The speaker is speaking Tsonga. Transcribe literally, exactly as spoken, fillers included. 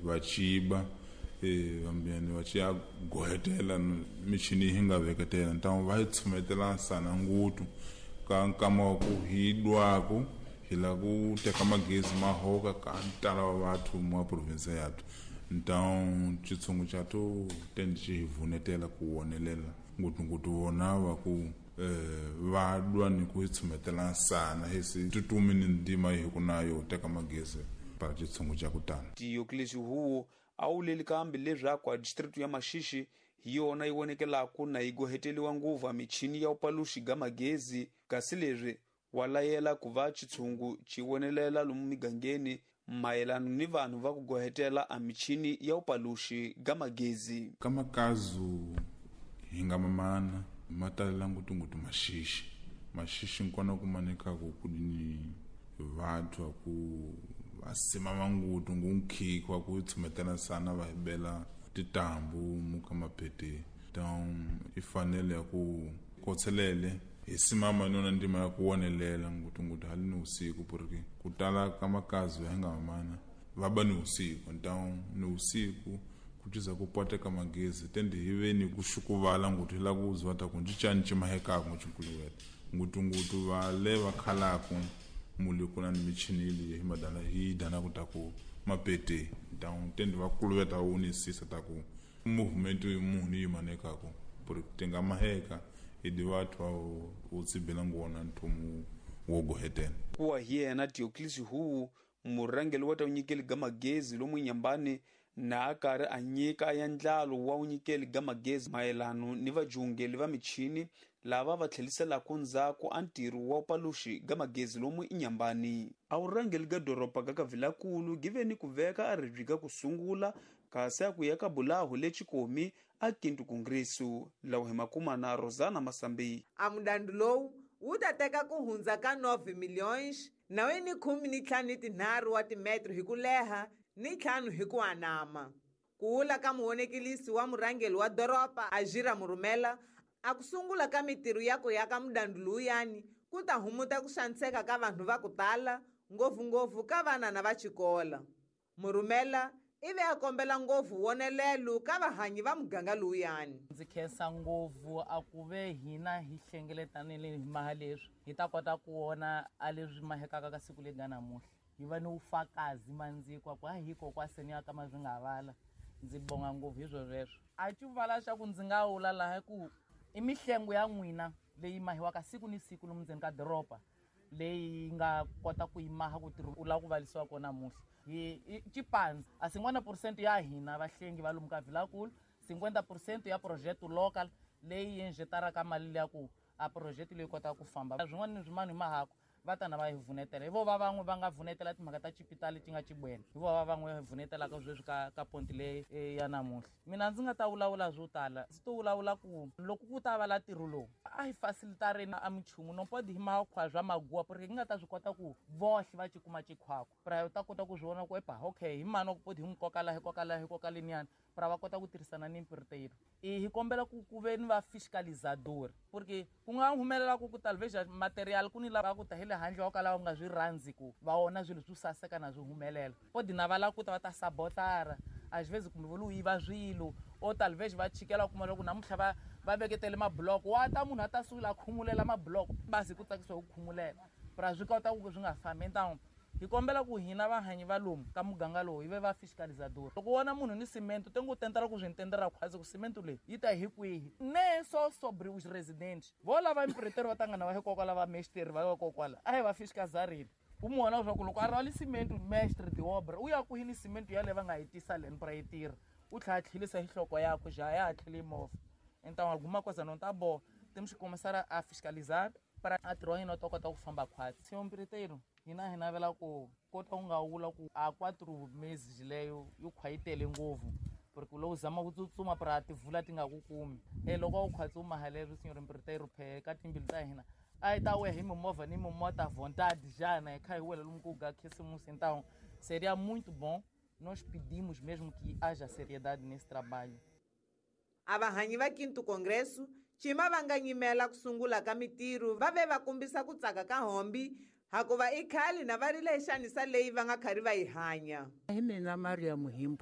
Va ciba e vambiyani va ci ya gohetela michini yi nga veketela ntango va yi tshumetela nsana ngutu ka nkama wa ku hi dwaku hi la ku teka magezi ma hoka ka ntala wa vathu mwa province yathu. Então xitshungu xa to tendi xi hi vunetela ku wonelela ngutunguthu vona va ku eh va dwa ni ku tshumetela nsana hi si tutumi ni ndima hi ku nayo teka magezi para xitshungu xa ku tana. Diocles Huo a wuleli kambe leswaku a district ya Maxixi hi yona yi vonekelaku na yi goheteliwa nguva michini ya upaluxi ga magezi, kasi leswi wa layela ku va xitshungu xi vonelela lomu migangeni mayelana ni vanhu va ku gohetela a michini ya upaluxi ga magezi. Ka makazu hi nga mamana ma talela ngutungutu Maxixi. Maxixi nkona ku manekaku ku ni vathu ku va simama ngutu ngunkhikhi wa ku tshumetela nsana va hibela titambu muka mapete. Então i fanele ya ku kotselele hi simama nona ndima ya ku wonelela ngutungutu hali ni usiku, porque ku tala ka makazi ya nga mamana va ba ni usiku. Então ni usiku ku tiza ku poteka magezi tendi hi ve ni ku xukuvala ngutu hi la ku zwa ta ku ncicani cimahekaku ngucunkuluweta ngutungutu va le va khalaku muli ku na ni michini leyi hi madana hi dana ku ta ku mapete. Então tendi va kuluveta unisisa ta ku movimento yi munhu yi manekaku porque tinga maheka hi di vathu va u tsibela ngona nthumu wo gohetela. Kuwa hi yena Diocles Huo murhangeri wa ta unyikeli ga magezi lomu Nyambani na a karhi a nyika ya ndlalo wa unyikeli ga magezi mayelano ni vajungeli va michini lava va tlheliselaku ndzhaku a ntirho wa upaluxi ga magezi lomu Inyambani. A vurhangeri ga doroba ga Kavilakulu gi ve ni ku veka a ribyi ga ku sungula kasi a ku ya ka bulahu le Chikomi a Kintu Kongresu lawa hi makuma na Rosana Masambi. A mudandu lowu wu ta teka ku hundza ka nove milhões nawe ni khume ni ntlhanu ni tinharhu wa timetro hi ku leha ni ntlhanu hi ku anama. Ku wula ka muhonekelisi wa murhangeri wa doroba Ajira Murumela a ku sungula ka mitirho ya ku ya ka mudandu lowuyani ku ta humuta ku xaniseka ka vanhu va ku tala ngopfungopfu ka vana na va xikola. Murumela ivi a kombela ngopfu wonelelo ka vahanyi va muganga lowuyani. Ndzi khensa ngopfu a ku ve hina hi hlengeletanile hi maha leswi hi ta kota ku vona a leswi mahekaka ka siku leri nga namuntlha. Hi va ni vufakazi mandziko ku a hiko kwaseni ya ka ma swi nga vala. Ndzi bonga ngopfu hi swo sweswo. A cuvala xa ku ndzi nga wula laha ku i mihlengo ya n'wina leyi mahiwaka siku ni siku lomu ndzeni ka doroba leyi nga kota ku yi maha ku tirha u lava ku valisiwa kona namuntlha. Hi Chipandza a cinquanta por cento ya hina vahlengi va lomu ka Vilakulu, cinquanta por cento ya project local leyi injetaraka mali liya ku a project leyi kotaka ku famba. Swin'wana ni swin'wana hi mahaku va ta na va hi vunetela. Hi vo va van'we va nga vunetela timhaka ta chipitali ti nga Chibwena. Hi vo va van'we va vunetelaka sweswi ka ka ponti leyi ya namuntlha. Mina ndzi nga ta vulavula swo tala. Ndzi to vulavula ku loko ku ta va la ntirho lowu a hi facilitareni a minchumu no pode hi makhwa swa maguwa porque hi nga ta swi kota ku vohle va cikuma chikhwakwa. Pra u ta kota ku swi vona ku epa okay hi mani wa ku podi hi n'wi koka laha hi koka laha hi koka leniyani pra va kota ku tirhisana ni mpiritelo. I hi kombela ku ku ve ni va fiscalizador porque ku nga humelela ku ku talvez material ku ni lava ku ta hi le handle wa kala va nga swi rhandzi ku va vona swilo swo saseka na swi humelela. Podi na va lava ku ta va ta sabotara às vezes kumbe vo yiva swilo o talvez va chikela kuma loko namuntlha va va veketele mabloko wa ta munhu a ta sungula a khumulela mabloko basi ku tsakisiwa ku khumulela pra swi kota ku swi nga fambi. Então hi kombela ku hina vahanyi va lomu ka muganga lowu hi ve va fiscalizador. Loko wona munhu ni cimento te ngo tendera ku swi ntendera khwazi ku cimento leyi yi ta hi kwihi ne so sobre os residentes vo lava empreiteiro va tangana va hikokwala va mestre va vakokwala a hi va fiscalizarile. U mu vona leswaku loko a rhwali cimento mestre de obra u ya kwihi ni cimento yaleyo va nga yi tisa leni pra yi tirha u tlhela a tlhelisa hi nhloko yakwe já ya ha tlheli movha. Então alguma coisa não tá boa, temos que começar a fiscalizar para a ntirho wa hina wu ta kota ku famba khwatsi. Senhor empreiteiro, hina hi navela ku kota ku nga vula ku a quatro meses leyo yi khwa yi tele ngopfu porque loko u zama ku tsutsuma pra tivula ti nga ku kumi. E loko u khwatsi u maha leswi senhor empreiteiro phe ka timbilu ta hina a hi ta wehe hi mimovha ni mimota vontade já né kha hi wela lomu ku ga khisimusi. Então seria muito bom, nós pedimos mesmo que haja seriedade nesse trabalho. A vahanyi va Quinto Congresso cima va nga nyimela ku sungula ka mitirho va ve va kombisa ku tsaka ka hombi hakuva i khale na va rile hi xanisa leyi va nga khari va yi hanya. Hi mina Maria Muhimbo.